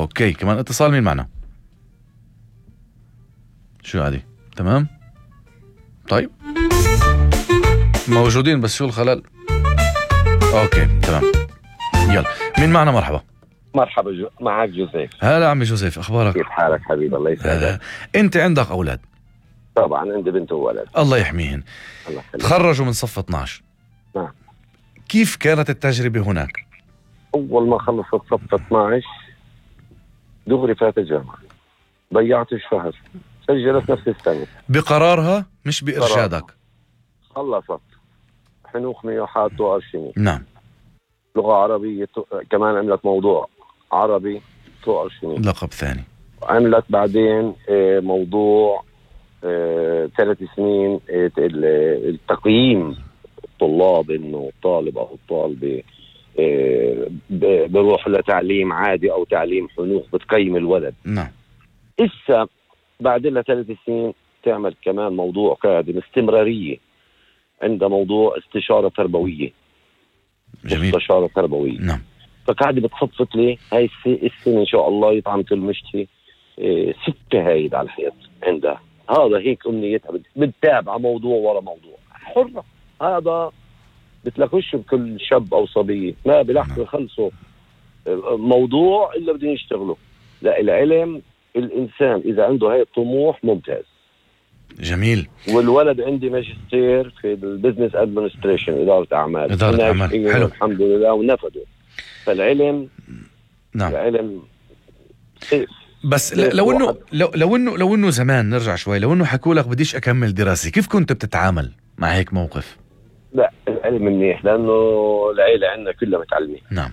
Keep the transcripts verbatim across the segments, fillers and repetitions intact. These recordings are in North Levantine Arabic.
اوكي كمان اتصال. مين معنا؟ شو هذه؟ تمام طيب موجودين بس شو الخلل؟ اوكي تمام يلا. مين معنا؟ مرحبا. مرحبا جو... معك جوزيف. هلا عمي جوزيف، اخبارك؟ كيف حالك حبيبي؟ الله يسعدك. انت عندك اولاد؟ طبعا عندي بنت وولد. الله يحميهن. الله يخليك. تخرجوا من صف اثناشر. نعم. كيف كانت التجربة هناك؟ اول ما خلصت صف اثناشر دغري فات الجامعة، ضيعت شهر، سجلت نفس السنة بقرارها مش بإرشادك. خلصت حنوخ ميوحات وأرشمي. نعم. لغة عربية تو... كمان عملت موضوع عربي وأرشمي. لقب ثاني. عملت بعدين موضوع ثلاث سنين التقييم الطلاب، انه الطالب او الطالبة بروح لتعليم عادي او تعليم حنوخ، بتقيم الولد. نعم. إسا بعد لها ثلاث سنين تعمل كمان موضوع قادم استمرارية، عندها موضوع استشارة تربوية. جميل. استشارة تربوية. نعم. فقاعدة بتصفت لي هاي السنة ان شاء الله يطعم المشتي إيه ستة هايد على الحيط عندها. هذا هيك امنيتها، بتتابع موضوع ورا موضوع، حرة. هذا بتلاقوش بكل شاب او صبية ما بلحظة يخلصوا موضوع الا بدهم يشتغلوا. لا، العلم الانسان اذا عنده هاي الطموح ممتاز. جميل. والولد عندي ماجستير في البزنس ادمنستريشن، ادارة اعمال. ادارة اعمال. حلو. الحمد لله ونفذوا. فالعلم نعم. العلم سيف. بس لو انه لو لو انه لو انه زمان نرجع شوي، لو انه حكوا لك بديش اكمل دراسي، كيف كنت بتتعامل مع هيك موقف؟ لا، العلم منيح لانه العيله عندنا كلها متعلمه. نعم.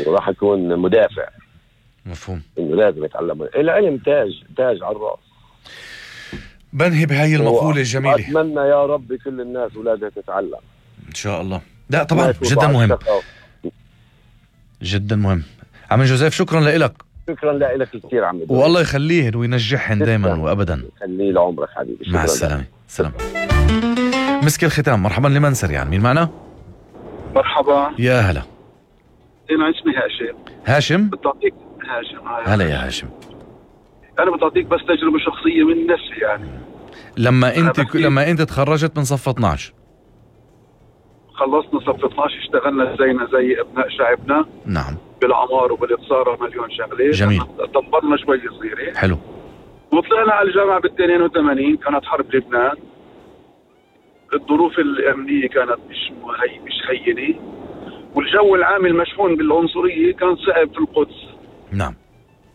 وراح اكون مدافع. مفهوم. انه لازم يتعلم العلم، تاج تاج على الراس. بنهي بهاي المقوله الجميله. اتمنى يا رب كل الناس اولادها تتعلم ان شاء الله. لا طبعا جدا مهم، جدا مهم. عم جوزيف شكرا لك. شكرا لك كثير عم بدو. والله يخليهن وينجحهن دائما وابدا. خليه لعمرك حبيبي. مع السلامه. سلام. مسك الختام. مرحبا لمن سريعا. مين معنا؟ مرحبا. يا هلا. انا اسمي هاشم. هاشم. بتعطيك هاشم. هلا يا هاشم. انا بتعطيك بس تجربه شخصيه من نفسي يعني. لما انت ك... لما انت تخرجت من صف اثناشر خلصنا صف اثناشر، اشتغلنا زينا زي ابناء شعبنا. نعم. بالعمار وبالاتصال مليون شغله. جميل. دبرنا شوي صغيره. حلو. وطلعنا على الجامعه بال اثنين وثمانين، كانت حرب لبنان. الظروف الامنيه كانت مش هي مش هينه، والجو العام المشحون بالعنصريه كان صعب في القدس. نعم.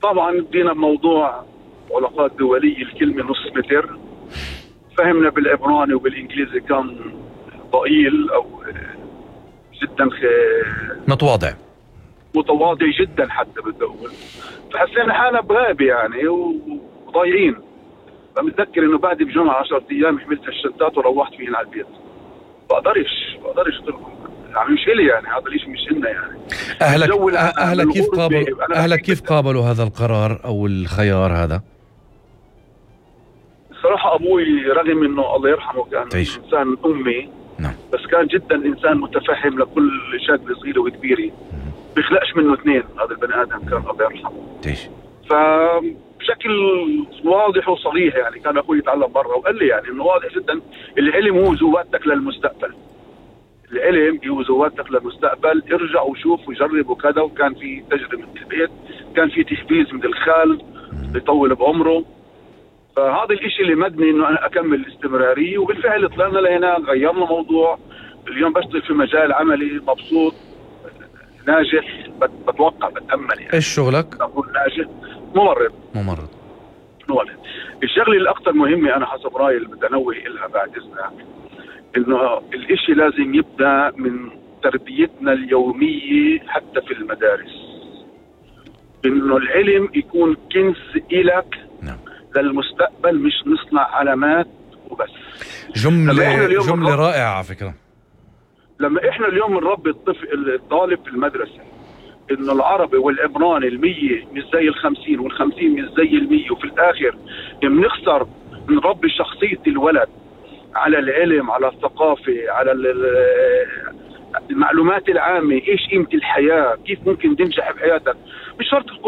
طبعا بدينا بموضوع علاقات دوليه، الكلمه نص متر. فهمنا بالعبراني وبالانجليزي كان ضئيل او جدا خ... متواضع متواضع جدا حتى بدي اقول. فحسينا حالنا بغابه يعني وضايعين. فمتذكر انه بعد بجمعه عشرة ايام حملت الشنطات وروحت فيهن على البيت. بقدرش بقدرش اتركهم يعني، مش إلي يعني، هذا الشيء مش إلنا يعني. أهلك أهلك كيف قابلوا أهلك كيف قابلوا هذا القرار أو الخيار هذا؟ الصراحة أبوي رغم إنه الله يرحمه كان تعيش. إنسان أمي. نعم. بس كان جدا إنسان متفهم لكل شاب صغيرة وكبيرة. بيخلقش منه اثنين هذا البني آدم، كان الله يرحمه. تعيش. فبشكل واضح وصريح يعني كان أخوي يتعلم برا وقال لي يعني إنه واضح جدا العلم هو زواتك للمستقبل. العلم هو زواتك للمستقبل، ارجع وشوف وجرب وكذا. وكان في تجربة من البيت، كان في تحفيز من الخال يطول بعمره. فهذا الاشي اللي مدني انه انا اكمل الاستمرارية. وبالفعل طلعنا لهنا، غيرنا موضوع. اليوم بشتغل في مجال عملي، مبسوط ناجح. بتوقع بتأمل يعني. ايش شغلك؟ اقول ناجح. ممرض. ممرض. ممرض. الشغله الاكثر مهمة انا حسب رايي اللي بدي انوه لها بعد اذنك، انه الاشي لازم يبدأ من تربيتنا اليومية حتى في المدارس. انه العلم يكون كنز إلك. نعم. للمستقبل، مش نصنع علامات وبس. جملة جملة رائعة على فكرة. لما احنا اليوم نربي الطفل الطالب في المدرسة انه العربي والعبراني المية مش زي الخمسين والخمسين مش زي المية، وفي الاخر بنخسر نربي شخصية الولد على العلم، على الثقافة، على المعلومات العامة، ايش قيمة الحياة، كيف ممكن تنجح بحياتك. مش شرط